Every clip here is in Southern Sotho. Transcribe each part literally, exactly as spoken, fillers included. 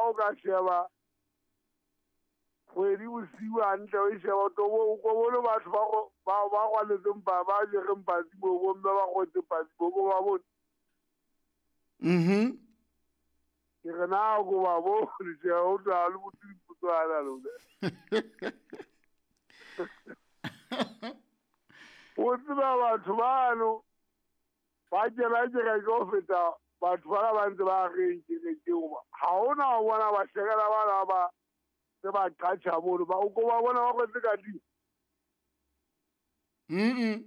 o ka sheba kgwedi bosiu hantle o e sheba o to bo o bone batho ba ba ba rwaletseng ba ba jereng patsi moo, bomme ba kgotse patsi moo, ko ba bone. Mhm. Ke re na ko ba bone, tjhe, o tla le botse dipotso ana lona. O tseba batho bano ba kena kereke ho feta batho bana ba ntse ba reng kerekeng hoba ha hona ho bona bahlekela bana ba tse ba qatjha mono, ba o ko ba bona ba kwetse katiba. Mm.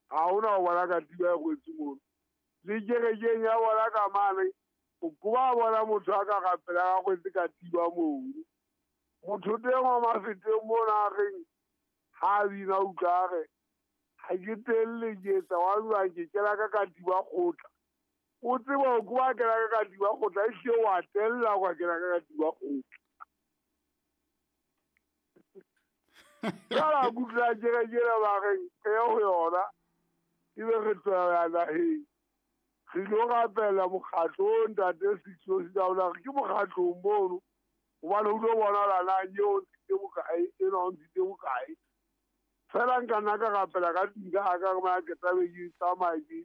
Ha hona ho bona katiba e kwetse mono. Le kerekeng ya bona ka mane, o ko ba bona motho a ka rapela a kwetse katiba mono. Motho teng wa Mafeteng mona a reng ha bina utlwa a re ha ke telle ke etsa wa jwang ke kena ka katiba kgotla. O tseba ho ko ba kena ka katiba kgotla, ehlile wa tella wa kena ka katiba kgotla. Jwale ha ke utlwa kereke ena ba reng re ye ho yona, ebe re tlohela naheng. Re ilo rapela mokgatlong ntate Sitso Sitaola, re ke mokgatlong mono hobane ho tlo bonahala na eo o ntshitse bokae, enwa o ntshitse bokae. Feela nka nna ka rapela ka tlung ka haka re mona ke tlabe ke tsamaya ke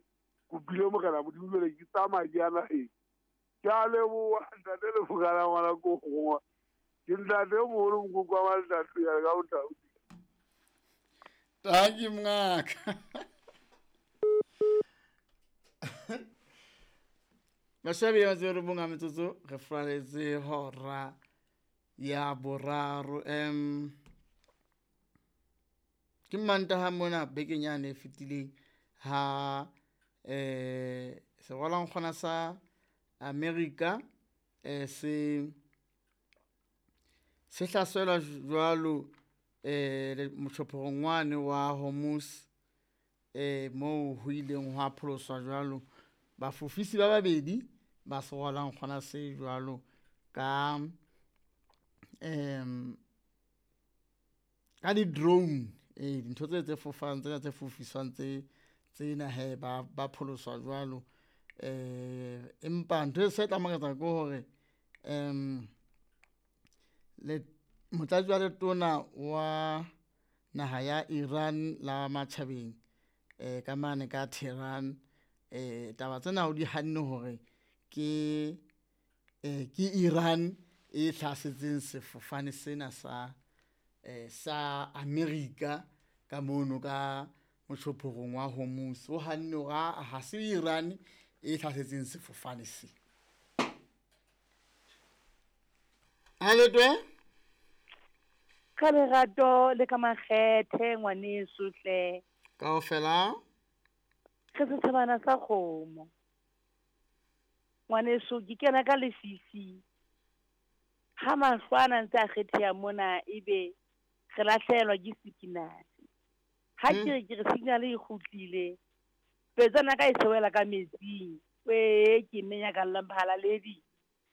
kopile Morena Modimo jwale ke tsamaya ke ya naheng. Ke a leboha ntate Lefokana ngwana ko gongwe. Ke ntate o moholo mokoko wa Maltatu ya ka botau. Thank you, mngaka. Mashabi ya zero bunga metsotso re furaletse hora ya boraro. Em ke Mantaha mona bekeng yane e fetileng ha eh serwalankgwana sa America eh se se hlaselwa jwalo eh motjhophorong wane wa Hormuz eh moo ho ileng hwa pholoswa jwalo bafofisi ba babedi ba serwalankgwana se jwalo ka em ka di drone eh dintho tse tse fofang tsena tse fofiswang tse tsena he ba ba pholoswa jwalo eh empa ntho e se tla makatsa ke hore em le motlatsi wa letona wa naha ya Iran la matjhabeng eh ka mane ka Tehran eh taba tsena o di hanne hore ke eh ke Iran e hlasetseng sefofane sena sa eh sa America ka mono ka motjhophorong wa Hormuz. O hanne hore ha se Iran e hlasetseng sefofane se. Aletwe ka lerato le ka makgethe ngwaneso hle. Kaofela re setjhabana sa kgomo. Ngwaneso ke kena ka lefifi. Ha mahlo ana ntse a kgetheha mona ebe re lahlehelwa ke signal. Ha ke re ke re signal e kgutlile. Petsana ka e sewela ka metsing. We ke menya ka llamphala ledi.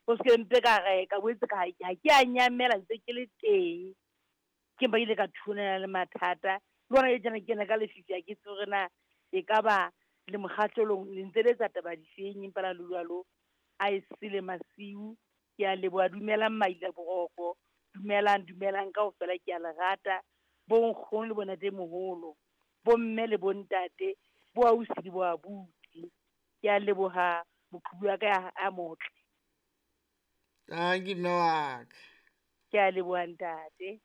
O se mpe ka re ka boetse ka ha ke a nyamela ntse ke le teng. Ke ba ile ka thunela le mathata. Le hona e tjena ke kena ka lefifi ha ke tsebe hore na e ka ba le mokgatlolong le ntse le etsa taba difeng empa la lulwalo a e sele masiu. Ke a leboha, dumelang maila boroko, dumelang dumelang kaofela, ke a le rata. Bo nkgono le bontate moholo, bo mme le bontate, bo ausi le bo abuti. Ke a leboha moqhubu wa ka a motle. Thank you, mme wa ka. Ke a leboha ntate.